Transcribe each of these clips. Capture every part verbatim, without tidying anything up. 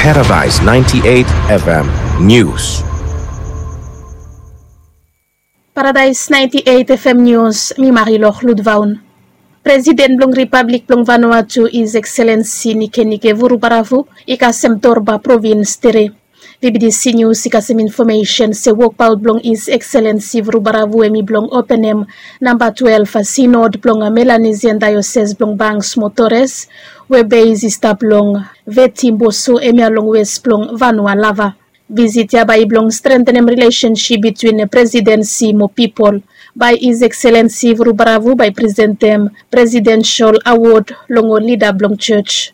Paradise ninety-eight F M News. Paradise ninety-eight F M News, mi Marilor Ludvaun. Presiden blong Ripablik blong Vanuatu, His Excellency Nikenike Vurubaravu, i kasem torba provins tere. V B D C News i kasem infomesen se wokbaot blong His Excellency Vurubaravu hemi blong openem namba twelve sinod blong Melanesian Diocese blong Banks mo Torres, we beis i stap long Veti Mboso, hemia long wes blong Vanua Lava. Visit ya bae i blong strengthenem rilesensip bitwin presidensi mo pipol. Bae His Excellency Vurubaravu bae i presentem presidensol awod long ol lida blong jos.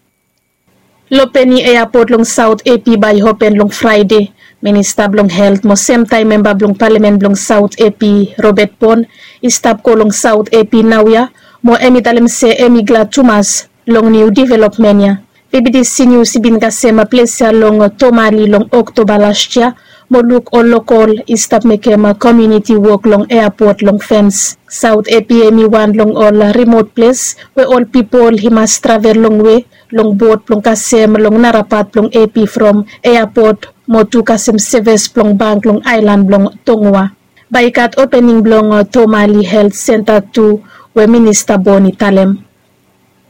Lopeni Eapot long Saot Epi bae i open long Fraede. Minista blong Helt mo semtaem memba blong Palamen blong Saot Epi, Robert Bon, i stap go long Saot Epi naoia, mo hemi talem se hemi glad tumas long niu developmen ya. V B D C News i bin kasem ples ya long Tomali long Oktoba las yia, mo luk ol lokol i stap mekem komuniti wok long eapot long fens. Saot Epi hemi wan long ol rimot ples we ol pipol i mas travel longwe long bot blong kasem long nara pat blong Epi from eapot, mo tu kasem sevis blong bank long aelan blong Tongua. Bae i gat opening blong Tomali Helt Senta tu, we Minista Bon i talem.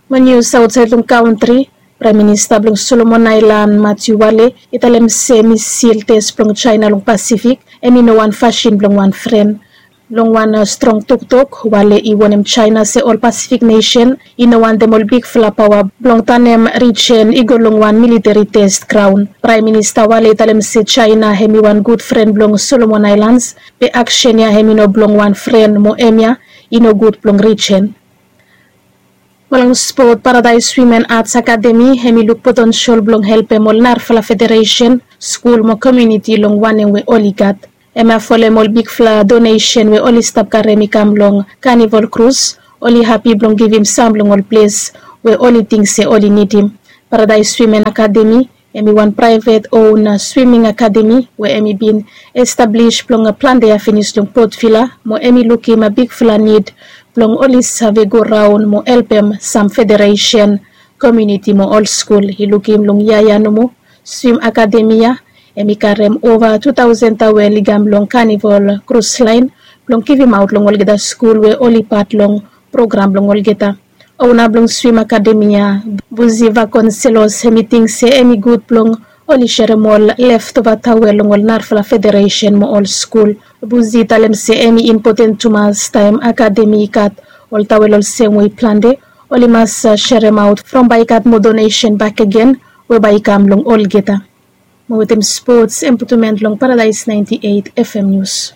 Mo nius aotsaed long kantri, Praem Minista blong Solomon Aelan, Matiu Wale, i talem se misil tes blong Jaena long Pasifik hemi no wan fasin blong wan fren. Long wan strong toktok, Wale i wonem Jaena se ol Pasifik nesen i no wantem ol bigfala paoa blong tanem rijen i go long wan militeri tes graon. Praem Minista Wale i talem se Jaena hemi wan gud fren blong Solomon Aelans, be aksen ya hemi no blong wan fren, mo hemia i no gud blong rijen. Mo long spot, Paradaes Wimen Ats Akademi hemi luk potensol blong helpem ol narafala federesen, skul mo komuniti long wanem we oli gat. Hemia folem ol bigfala donesen we oli stap karem i kam long Kanivol Krus. Oli hapi blong givim sam long ol ples we oli ting se oli nidim. Paradaes Wimen Akademi hemi wan praevet on swiming akademi we hemi bin establis blong plante yia finis long Port Vila, mo hemi lukim bigfala nid blong oli save goraon mo helpem sam federesen, komuniti mo ol skul. I lukim long yia ya nomo, swim akademi ya hemi karem ova tu taosen tawel i kam long Kanivol Krus Laen blong givimaot long olgeta skul we oli pat long program blong olgeta. Ona blong swim akademi ya, Buzi Vakonselos, hemi ting se hemi gud blong oli serem ol leftova tawel long ol narafala federesen mo ol skul. Buzi i talem se hemi impoten tumas taem akademi i gat ol tawel olsem we i plante, oli mas seremaot from bae i gat moa donesen bakegen we bae i kam long olgeta. Mo wetem spots, Emputumen long Paradaes naenti eit F M Nius.